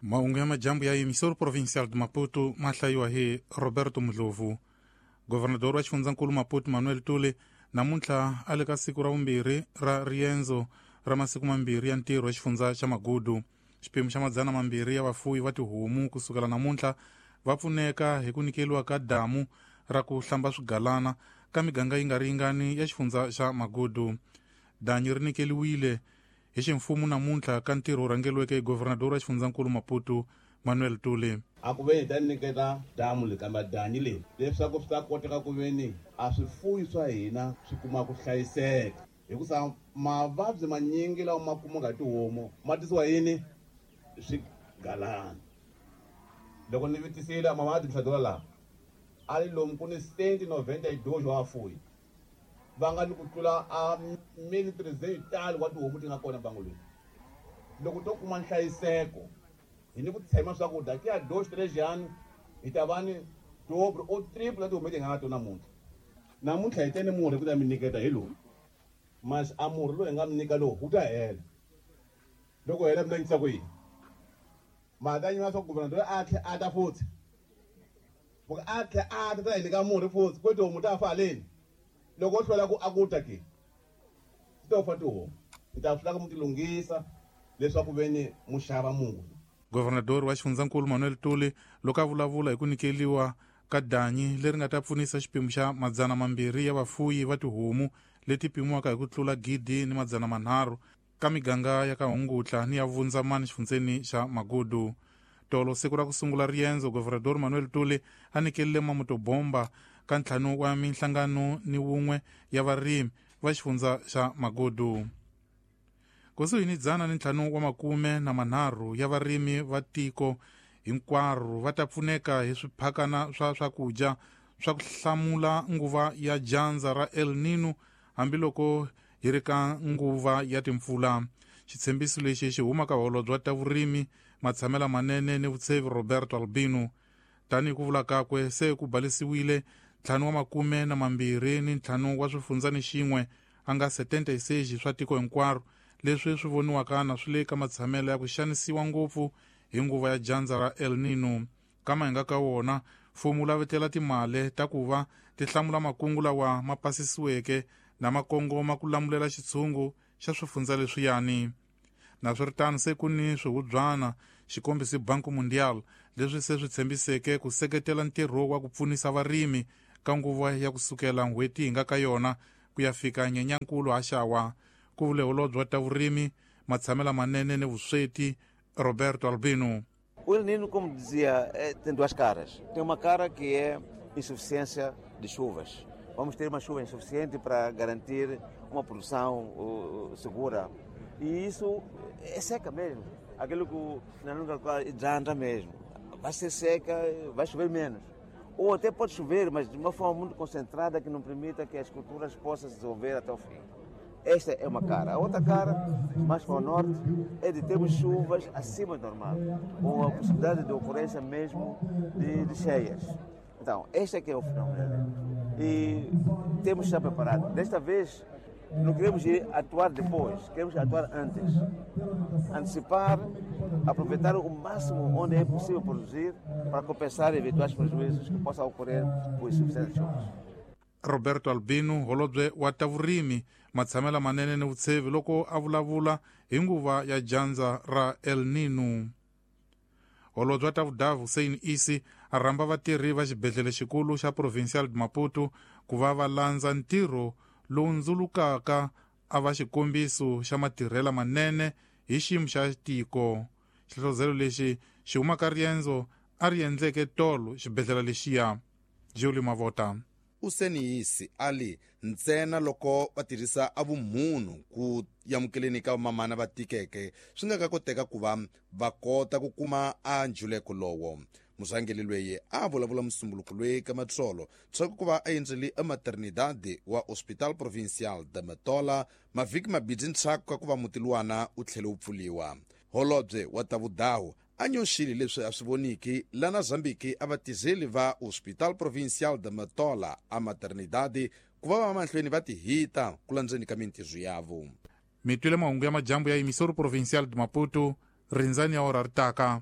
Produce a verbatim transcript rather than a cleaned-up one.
Mahungu ya majambu ya emissora provincial de Maputo ma hlayiwa hi Roberto Mdlovu. Governador wa xifundzankulu Maputo Manuel Tule namuntlha a le ka siku ra vumbirhi ra riendzo ra masiku mambirhi ya ntirho wa xifundza xa Magudu. Xiphemu xa madzana mambirhi ya vafuwi va tihomu kusukela namuntlha va pfuneka hi ku nyikeliwa ka damu ra ku hlamba swigalana ka miganga yi nga ringani ya xifundza xa Magudu. Danyi ri nyikeliwile hi ximfumo namuntlha ka ntirho wu rhangeliweke hi governador wa xifundzankulu Maputo Manuel Tule. A ku ve hi ta nyiketa damu leyi kambe danyi leyi leswaku swi ta koteka ku ve ni a swifuyi swa hina swi kuma ku hlayiseka, hikusa mavabyi manyingi lawa ma kumaka hi tihomu ma tisiwa yini swigalana. Loko ni vitisile mavabyi mihladula laha a ri lomu ku ni cent noventa yi wa vafuyi va nga ni ku tlula a mili three wa tihomu ti nga kona bangolweni. Loko to kuma nhlayiseko hi ni ku tshema swakudya ki ya dox trejani hi ta va ni double or triple ya tihomu leti hi nga na tona namuntlha. Namuntlha hi tene murhi ku ta mi nyiketa hi lowu, mas a murhi lowu hi nga mi nyika lowu wu ta hela. Loko hela mi ta nyikisa ku yini? Mhaka nyima swa governador a tlhe a ta futhi loko a tlhe a ta ta hi nyika murhi futhi ku tihomu ta fa haleni. Loko o hlwela ku a ku ta ke ti ta fa tihomu, hi ta swi lava mu ti lunghisa leswaku ve ni mu xava murhi. Governador wa xifundzankulu Manuel Tule loko a vulavula hi ku nyikeliwa ka danyi leri nga ta pfunisa xiphemu xa madzana mambirhi ya vafuyi va tihomu leti pimiwaka hi ku tlula gidi ni madzana manharhu ka miganga ya ka Hungutla ni ya Vundzamani xifundzeni xa Magudu. Tolo siku ra ku sungula riendzo, Governador Manuel Tule a nyikelile mamutobomba ka ntlhanu wa minhlangano ni wun'we ya varimi va xifundza xa Magudu. Kusuhi ni dzana ni ntlhanu wa makume na manharhu ya varimi va tiko hinkwaro va ta pfuneka hi swiphakana swa swakudya swa ku hlamula nguva ya dyandza ra El Nino hambiloko hi ri ka nguva ya timpfula. Xitshembiso lexi xi huma ka holobye wa ta vurimi, matshamela manene ni vutshevi Roberto Albino. Tanihi ku vula kakwe, se ku balisiwile ntlhanu wa makume na mambirhi ni ntlhanu wa swifundza ni xin'we a nga setenta e seis swa tiko hinkwaro leswi swi voniwaka na swi le ka matshamelo ya ku xanisiwa ngopfu hi nguva ya dyandza ra El Nino. Kama hi nga ka wona, mfumo wu lavetela timali ta ku va ti hlamula makungu lawa ma pasisiweke na makongoma ku lamulela xitshungu xa swifundza leswiyani. Naswiritano se ku ni swihubyana xikombiso Banco Mundial leswi se swi tshembiseke ku seketela ntirho wa ku pfunisa varimi ka nguva ya kusukela n'hweti hi nga ka yona ku ya fika Nyenyankulu haxawa. Ku vule holobye wa ta vurimi, matshamela manene ni vusweti Roberto Albino. O El Nino, como dizia, tem duas caras. Tem uma cara que é insuficiência de chuvas. Vamos ter uma chuva insuficiente para garantir uma produção uh, segura. E isso é seca mesmo. Aquilo que na língua hidrata mesmo. Vai ser seca, vai chover menos. Ou até pode chover, mas de uma forma muito concentrada que não permita que as culturas possam se desenvolver até o fim. Esta é uma cara. A outra cara, mais para o norte, é de termos chuvas acima do normal, com a possibilidade de ocorrência mesmo de, de cheias. Então, este é que é o fenômeno. E temos que estar preparados. Desta vez, não queremos ir atuar depois, queremos atuar antes. Antecipar, aproveitar o máximo onde é possível produzir para compensar eventuais prejuízos que possam ocorrer por insuficiência de chuvas. Roberto Albino, holobye wa ta vurimi, matshamela manene ni vutshevi loko a vulavula hi nguva ya dyandza ra El Nino. Holobye wa ta vudavu Hussein Isi a rhamba vatirhi va xibedhlele xikulu xa Provincial de Maputo ku va va landza ntirho lowu ndzulukaka a va xikombiso xa matirhela manene hi xiyimo xa tiko. Xihlohlozelo lexi xi huma ka riendzo a ri endleke tolo xibedhlele lexiya. Julie Mavota. Hussein Isi ali ntsena loko va tirhisa a vumunhu ku amukeleni ka vamamana va tikeke swi nga ka koteka ku va va kota ku kuma a njuleko lowo. Murhangeri loyi a vulavula musumbuluko loyi ka matsolo swa ku va a endzele ematernidade wa Hospital Provincial de Matola mavhiki mabirhi ndzhaku ka ku va muti luwana wu tlhele wu pfuliwa. Holobye wa ta vudawu a nyoxile leswi a swi voniki lana Zambiki a vatirheli va Hospital Provincial de Matola a maternidade ku va va mahlweni va tihita ku landzeni ka mintirho yavo. Mi twile mahungu ya majambu ya emissora provincial de Maputo, rindzani ya ora ri taka.